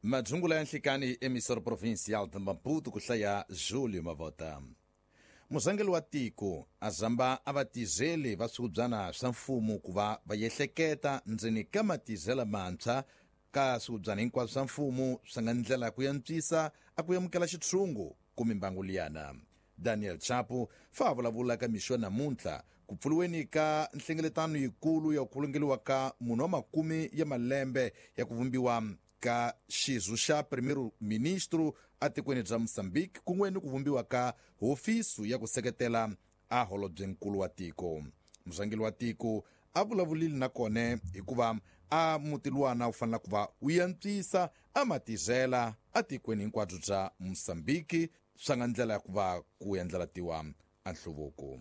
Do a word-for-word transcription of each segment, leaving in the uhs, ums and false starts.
Madzungula ya nhlikani emissora provincial de Maputo ku hlaya Julio Mavota. Muzangeli wa tiko a zamba a va tizeli va swihubyana swa mfumo ku va va yehleketa ndzeni ka matizela mantshwa ka swihubyana hinkwaswo swa mfumo swi nga ndlela ku yantswisa a ku amukela xitshungu ku mimbangu liyana. Daniel Chapo fa vulavula ka mixo namuntlha ku pfuriweni ka nhlengeletano yikulu ya ku khulungeliwa ka munhu wa makume ya malembe ya ku vumbiwa ka xizu xa primeiro-ministro atikweni bya Mozambique kun'we ni ku vumbiwa ka hofisi ya ku seketela a holobyenkulu wa tiko. Murhangeri wa tiko a vulavulile na kona hikuva a muti luwana wu fanele ku va wu yantswisa a matizela atikweni hinkwabyo bya Mozambique swa nga ndlela ya ku va ku endlelatiwa a nhluvuko.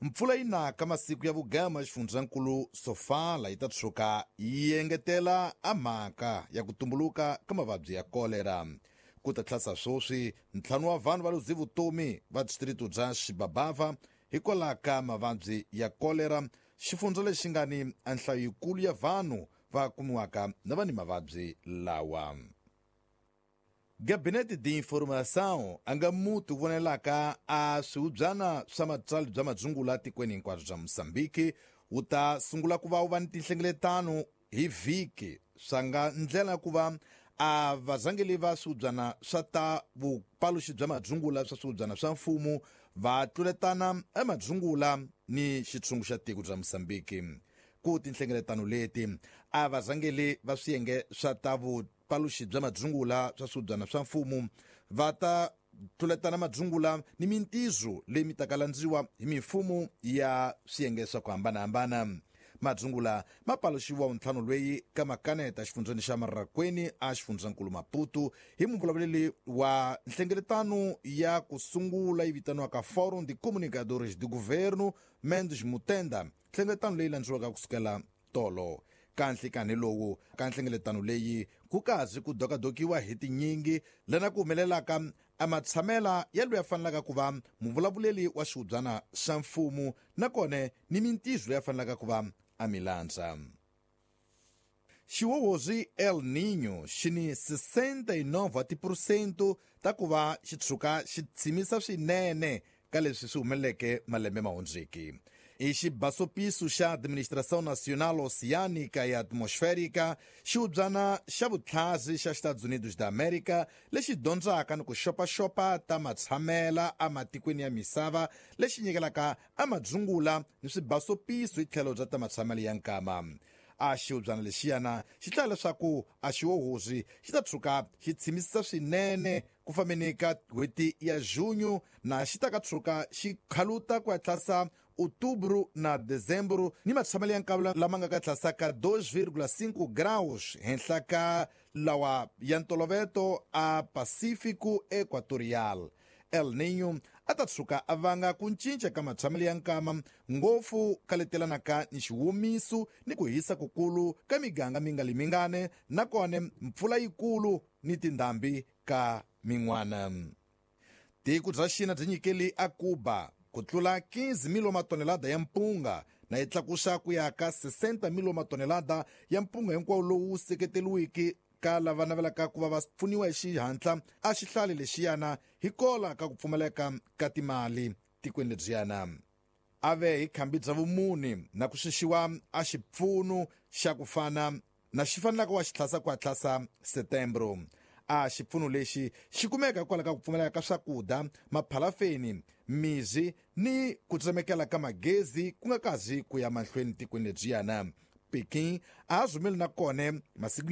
Mpfula yi naka masiku ya vugama xifundzankulu Sofala yi ta tshuka yi engetela a mhaka ya ku tumbuluka ka mavabyi ya kolera. Ku ta tlhasa sweswi ntlhanu wa vanhu va luze vutomi va distrito bya Xibabava hikwalaho ka mavabyi ya kolera, xifundza lexi nga ni a nhlayo yikulu ya vanhu va kumiwaka na va ni mavabyi lawa. Gabinete de Informação a nga muti vonelaka a swihubyana swa matsali bya madzungula tikweni hinkwabyo bya Mozambique wu ta sungula ku va wu va ni tinhlengeletano hi vhiki swa nga ndlela ku va a vazangeli va swihubyana swa ta vupaluxi bya madzungula swa swihubyana swa mfumo va tluletana emadzungula ni xitshungu xa tiko bya Mozambique. Ku tinhlengeletano leti a vazangeli va swiyenge swa ta vupaluxi bya madzungula swa swihubyana swa mfumo va ta tluletana madzungula ni mintizo leyi mi taka landziwa hi mimfumo ya swiyenge swa ku hambanahambana. Madzungula ma paluxiwa wuntlhanu lweyi ka makaneta xifundzeni xa Marrakweni a xifundzankulu Maputo hi muvulavuleri wa nhlengeletano ya ku sungula yi vitaniwaka Fórum de Comunicadores de Governo Mendes Mutenda, nhlengeletano leyi landziwaka kusukela tolo. Ka nhlikani lowu ka nhlengeletano leyi ku kazi ku dokadokiwa hi tinyingi lena ku humelelaka a matshamela ya loyi a fanelaka ku va muvulavuleli wa xihubyana xa mfumo nakona ni mintizo leyi a fanelaka ku va a mi landza. Xiwowozi El Niño xi ni sessenta e nove wa tiphurosento ta ku va xi tshuka xi tshimisa swinene ka leswi swi humeleleke malembe ma hundzeke. I xibasopiso xa Administração Nacional Oceânica e Atmosférica, xihubyana xa vutlhazi xa Estados Unidos da América lexi dyondzaka ni ku xopaxopa ta matshamela ematikweni ya misava lexi nyikelaka amadzungula ni swibasopiso hi tlhelo bya ta matshamelo ya nkama. A xihubyana lexiyana xi hlaya leswaku a xiwohozi xi ta tshuka xi tshimisisa swinene ku fambeni ka n'hweti ya junho na xi ta ka tshuka xi khaluta ku hatlasa outubro na dezembro ni matshamelo ya nkavula lama nga ka tlasaka dois vírgula cinco graus henhla ka lawa ya ntoloveto a Pacífico Equatorial. El Niño a ta tshuka a vanga ku cinca ka matshamelo ya nkama ngopfu ka letelanaka ni xiwomiso ni ku hisa kukulu ka miganga mingali mingane nakona mpfula yikulu ni tindhambi ka min'wana. Tiko bya China byi nyikeli a Cuba ku tlula quinze mil wa matonelada ya mpunga na yi tlakusa ku ya ka sessenta mil wa matonelada ya mpunga hinkwawo lowu seketeriweke ka lava navelaka ku va va pfuniwa hi xihatla a xihlale lexiyana hi kola ka ku pfumaleka ka timali tikweni lebyiyana. A ve hi khambi bya vumune na ku xixiwa a xipfuno xa ku fana na xi fanelaka wa xi tlhasa ku hatlasa setembro. A xipfuno lexi xi kumeka hikwalaho ka ku pfumaleka ka swakudya, maphalafeni, mizi ni ku tsemekela ka magezi ku nga kazi ku ya mahlweni tikweni lebyiyana. Peking a ha zumeli na kona masiku